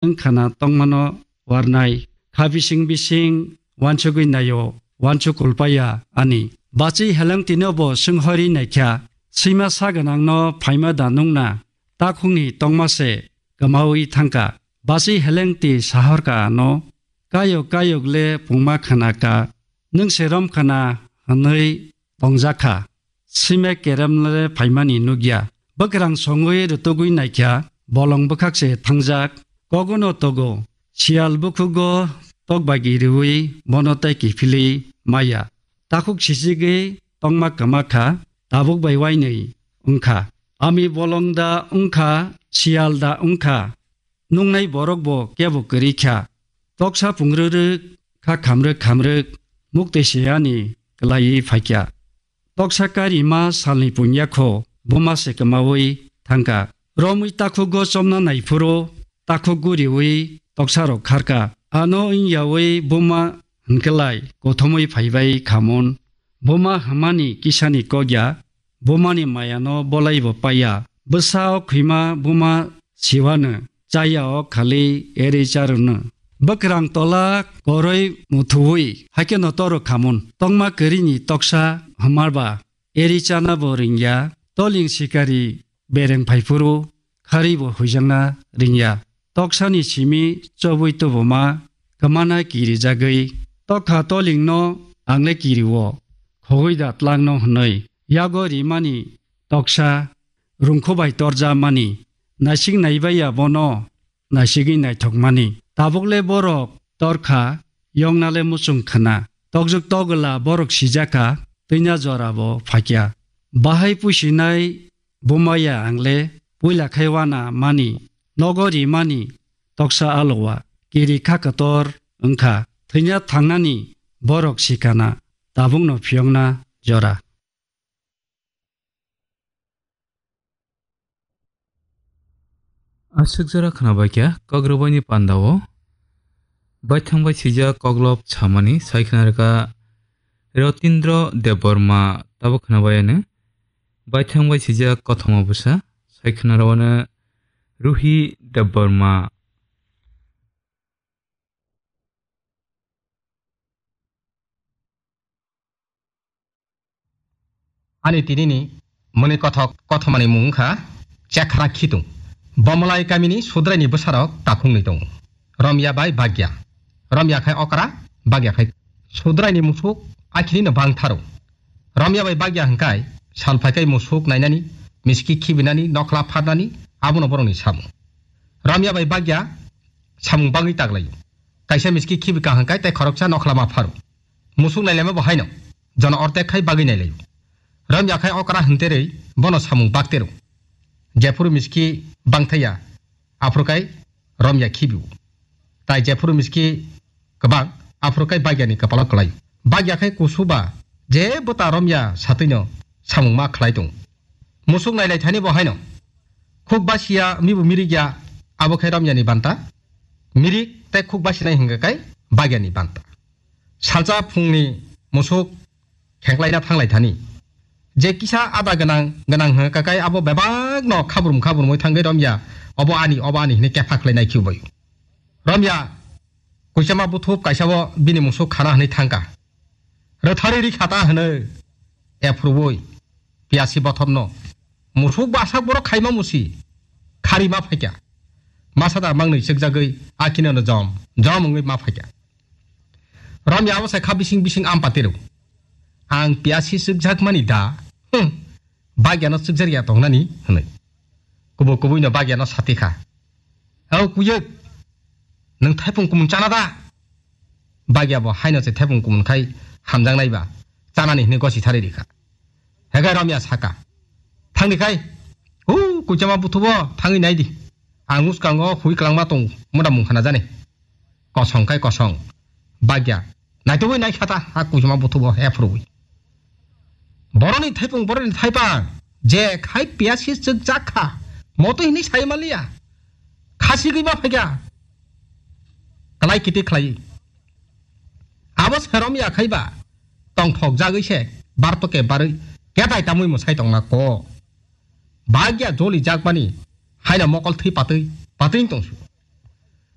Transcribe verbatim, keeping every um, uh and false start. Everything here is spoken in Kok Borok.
wngkhana tongmano warnai. Kha bising bising wansugwi naio, wansuk kulpaya ani. Bachi helengtino bo swnghorwi naikha, swima sa gwnangno phaima da nungna, takhukni tongma se kwmaui thangkha. Bachi helengti sahorkha ano, kayok kayok le pungma khanakha, nwng se romkhana hwnwi tongjakha. Sime keremle phaimani nukya. Bwkrang songwi rwtugwi naikha, bolong bwkhak se thangjak. Kogono togo, siyal bukhugo tokbagi riwi bono tei kiphilwi maya. Takhuk sichigwi tongma kwma kha, tabuk bai wainwi wngkha. Ami bolong da wngkha, siyal da wngkha. Nungnai borok bo kebo kwrwi kha. Toksa pungrwrwk kha khamrwk khamrwk muktwi se ani kwlaiwi phaikha. Toksa karima salni punya kho buma se kwmaui thangkha. Romwi takhugo chomna naiphuru takhuk guriwi toksarok kharkha. Ano wngyaui buma hwnkhelai kothomwi phaibai khamon. Buma hwnmani kisani kokya, bumani mayano bolaibo paiya. Bwsa o khwima buma siwano, chaya o khali eri charwno. Bwkrang tola koroi muthuwi, haikeno toro khamon. Tongma kwrwini toksa hwnmarba eri chana bo ringya, toling sikari bereng phaiphuru, khari bo huijakna ringya. Toksani simi chobwi tubuma kwmana kirijagwi, tokha tolingno angle kirio, khogwi da tlangno hwnwi. Yago rimani toksa rungkho bai torjamani, naisik naibaiya bono naisigwi naithokmani. Tabukle borok torkha, yoknale muchung khna. Tokjwk togwla borok sijakha, twina jorabo phakya. Bahai pusinai bumaya angle, puila khai wana mani, nogo rimani, toksa alowa, kiri kha kotor wngkha, thwina thangnani borok sikana, tabukno phiyokna jora. Aswk jora khwnabaikha Kokrwbaini pandao baithang bai swijak koklop samani sai khwnarwkha Rotindro Debbarma, tabuk khwnabaiano baithang bai swijak kothoma bwsa sai khwnarwano Ruhi Debbarma. Ani tinini mwnwi kothok kothomani mung wngkha Chekhra Khitung. Bomolai kamini Sudraini bwsarok takhuknwi tongo. Romya bai Bagya. Romya khai okra, Bagya khai Sudraini musuk akhini no bangtharo. Romya bai Bagya hwnkhe sal phaikai musuk nainani, miski khibinani, nokhla pharnani, abono borokni samung. Romya bai Bagya samung bagwi taglaio. Kaisa miski khibika hwnkhe tei khoroksa nokhla ma pharo. Musuk nailaima bo haino, jono ortek khai bagwi nailaio. Romya khai okra hwnterwi bono samung baktero. Jephuru miski bangthaya, aphuru kai Romya khibio. Tai jephuru miski kwbang, aphuru kai Bagyani kwpalo kwlaio. Bagya khai kusu ba je bwta Romya satwino samung ma khlai tongo. Musuk nailai thani bo haino. Khuk basiya mibu mirik ya, abo khai Romyani banta. Mirik tei khuk basinai hwnkha kai Bagyani banta. Salsa phungni musuk khenklaina thanglai thani. Je kisa ada gwnang gwnang hwnkha kai abo bebakno khabrum khabrumwi thangwi Romya, "Obo ani, obo ani," hwnwi kepha khlainai khiubaio. Romya kuchama buthup kaisa o bini musuk khana hwnwi thangkha. Rwthari rikha ta hwnwi, ephruwi piyasi bothopno. Musuk basak borok khaima musi, khari ma phaikha. Masa da mangnwi chwkjagwi akhinono jom, jom wngwi ma phaikha. Romya abo sai kha bising bising ampati rw. "Ang piyasi chwkjakmani da? Hm, Bagyano chwkjar ya tongnani," hwnwi. Kubu kubuino Bagyano sati kha. "O kuyuk, nwng thaipung kumun chana da?" Bagya bo haino se thaipung kumun khai hamjaknai ba chanani hwnwi gosi thari rikha. Hegai Romya saka, "Thangdi khai, u kuchama buthubo thangwi naidi. Ang uskango hui kwlangma tong muda mung khana jani." Kosong khai kosong. Bagya naitugwi naikhata ha kuchuma buthubo ephruwi. Boroni thaipung, boroni thaipang, je khai piyasi chwkjak kha, motwi hwnwi sai manliya. Khasigwi ma phaikha. Kalai kiti khlai. Abo serom ya khaiba, tongthok jagwi se, barto ke barwi, ketai tamwi mwsai tongna ko. Bagya joli jakmani, haino mokol thwi patwi, patwi tongsu.